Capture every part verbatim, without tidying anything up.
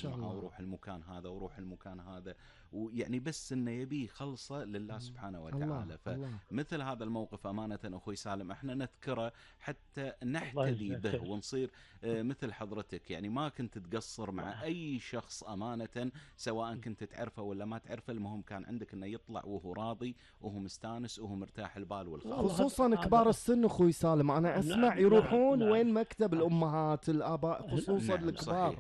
معه وروح المكان هذا وروح المكان هذا، ويعني بس انه يبي خلصه لله سبحانه وتعالى. فمثل هذا الموقف امانه اخوي سالم احنا نذكره حتى نحتذي به ونصير مثل حضرتك، يعني ما كنت تقصر مع اي شخص امانه، سواء كنت تعرفه ولا ما تعرفه، المهم كان عندك انه يطلع وهو راضي وهو مستانس وهو مرتاح البال والخاطر. خصوصا كبار السن اخوي سالم، انا اسمع يروحون وين مكتب الامهات الاباء خصوصا الكبار.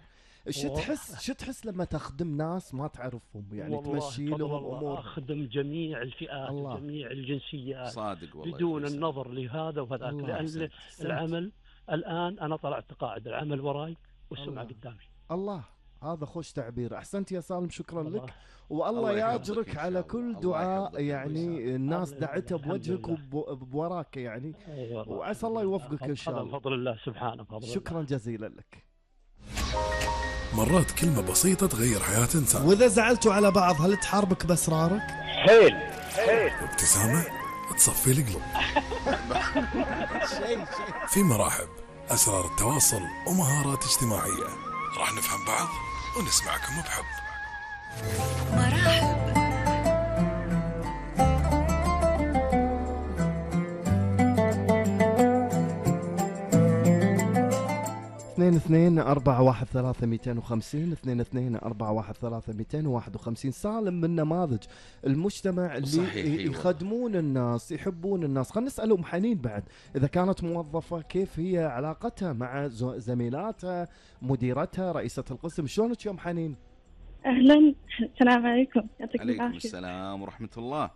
شو تحس شو تحس لما تخدم ناس ما تعرفهم، يعني تمشي لهم امور؟ اخدم جميع الفئات وجميع الجنسيات صادق والله بدون النظر لهذا وهذاك، لان سنت. العمل الان انا طلعت قاعد، العمل وراي والسمعه قدامي. الله، هذا خوش تعبير. احسنت يا سالم، شكرا الله. لك، والله ياجرك على كل دعاء يعني الناس دعتها بوجهك وبوراك يعني، وعسى الله يوفقك ان شاء الله بفضل الله سبحانه. شكرا جزيلا لك. مرات كلمة بسيطة تغير حياة إنسان. وإذا زعلتوا على بعض هل تحاربك بأسرارك؟ حيل حيل. ابتسامة تصفي القلوب. في مراحب أسرار التواصل ومهارات اجتماعية، راح نفهم بعض ونسمعكم بحب. مراحب. اثنين اثنين أربعة واحد ثلاثة مئتين وخمسين اثنين اثنين أربعة واحد ثلاثة مئتين وواحد وخمسين. سالم من نماذج المجتمع اللي يخدمون الناس يحبون الناس. خلينا نسأل أم حنين بعد، إذا كانت موظفة كيف هي علاقتها مع زميلاتها، مديرتها، رئيسة القسم؟ شلونك يا أم حنين؟ أهلا، السلام عليكم. يعطيك العافية. عليكم السلام ورحمة الله.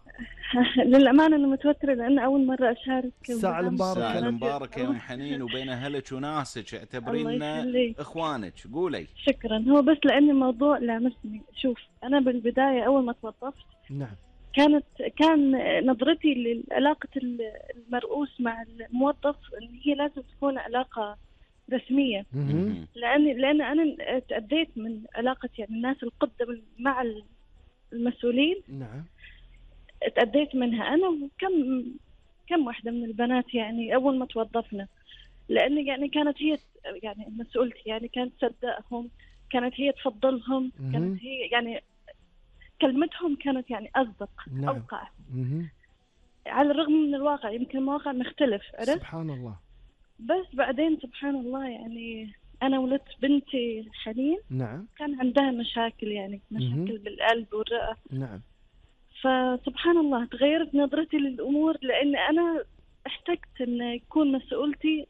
للأمانة أنا متوترة لأن أول مرة أشارك. ساعة المباركة. ساعة المباركة يا أم حنين، وبين أهلك وناسك اعتبرينا إخوانك. قولي. شكرا. هو بس لأن الموضوع لامسني. شوف، أنا بالبداية أول ما توظفت نعم كانت كان نظرتي لعلاقة المرؤوس مع الموظف إن هي لازم تكون علاقة رسمية، لأن لأن أنا تأديت من علاقة يعني الناس القدم مع المسؤولين. نعم. تأديت منها أنا وكم كم واحدة من البنات يعني أول ما توظفنا، لأن يعني كانت هي يعني مسؤولتي، يعني كانت تصدقهم، كانت هي تفضلهم، كانت هي يعني كلمتهم كانت يعني أصدق. نعم. أوقع. على الرغم من الواقع يمكن المواقع مختلف. سبحان الله. بس بعدين سبحان الله يعني أنا ولدت بنتي حنين. نعم. كان عندها مشاكل يعني مشاكل مم. بالقلب والرئة. نعم. فسبحان الله تغيرت نظرتي للأمور، لأن أنا احتجت أن يكون مسؤولتي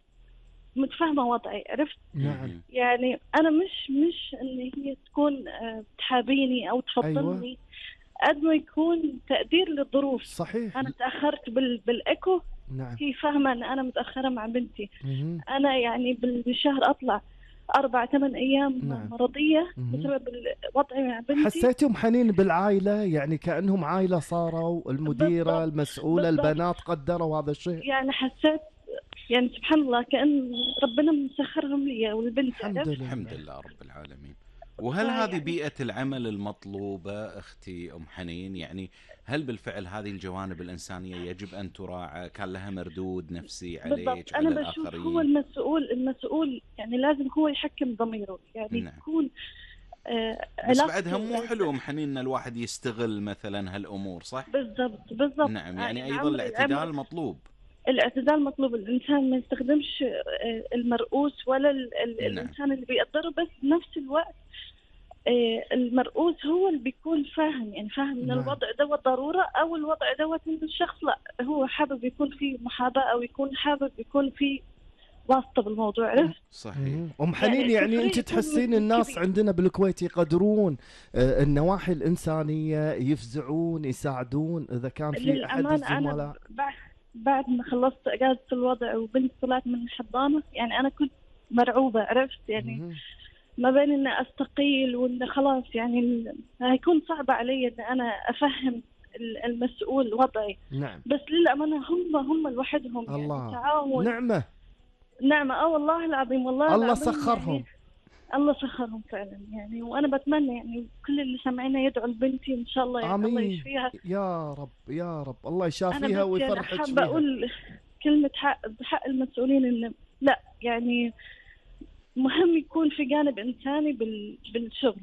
متفاهمة وضعي. عرفت؟ نعم. يعني أنا مش مش أن هي تكون تحابيني أو تفضلني. أيوة. قد ما يكون تقدير للظروف. صحيح. أنا تأخرت بال بالإيكو. نعم. هي فاهمة أن أنا متأخرة مع بنتي. مم. أنا يعني بالشهر أطلع أربع ثمان أيام نعم. مرضية بسبب وضعي مع بنتي. حسيتهم حنين بالعائلة، يعني كأنهم عائلة صاروا، المديرة بالضبط. المسؤولة بالضبط. البنات قدروا هذا الشيء. يعني حسيت يعني سبحان الله كأن ربنا مسخرهم لي والبنت. الحمد لله. الحمد لله رب العالمين. وهل هذه يعني بيئة العمل المطلوبة أختي أم حنين؟ يعني هل بالفعل هذه الجوانب الإنسانية يجب أن تراعى؟ كان لها مردود نفسي عليك على أنا الآخرين؟ بشوف هو المسؤول المسؤول يعني لازم هو يحكم ضميره، يعني نعم. يكون آه بس بعدها مو حلو أم حنين أن الواحد يستغل مثلا هالأمور، صح؟ بالضبط بالضبط. نعم، يعني, يعني أيضا الاعتدال مطلوب. الاعتدال مطلوب، الإنسان ما يستخدمش المرؤوس ولا ال ال نعم. الإنسان اللي بيقدره، بس نفس الوقت المرؤوس هو اللي بيكون فاهم، يعني فاهم ان نعم. الوضع دوت ضرورة، او الوضع دوت ان الشخص لا هو حابب يكون فيه محاباة، او يكون حابب يكون فيه واسطة بالموضوع. عرفت؟ صحيح. أم حنين يعني, يعني أنت تحسين الناس كبير. عندنا بالكويت يقدرون النواحي الإنسانية، يفزعون يساعدون إذا كان في أحد الزملاء؟ بعد ما خلصت اجازة الوضع وبنت طلعت من الحضانة، يعني انا كنت مرعوبة. عرفت؟ يعني مم. ما بين ان استقيل وان خلاص يعني هيكون صعب علي ان انا افهم المسؤول وضعي. نعم. بس للأمانة هم هم لوحدهم الله. يعني تعاون. نعمة نعمة. اه والله العظيم والله الله العظيم سخرهم. يعني الله سخرهم فعلا يعني. وانا بتمنى يعني كل اللي سامعينه يدعو لبنتي ان شاء الله يعني الله يشفيها يا رب يا رب، الله يشافيها ويفرحك فيها. انا بقول كلمة حق بحق المسؤولين، ان لا يعني مهم يكون في جانب إنساني بالشغل.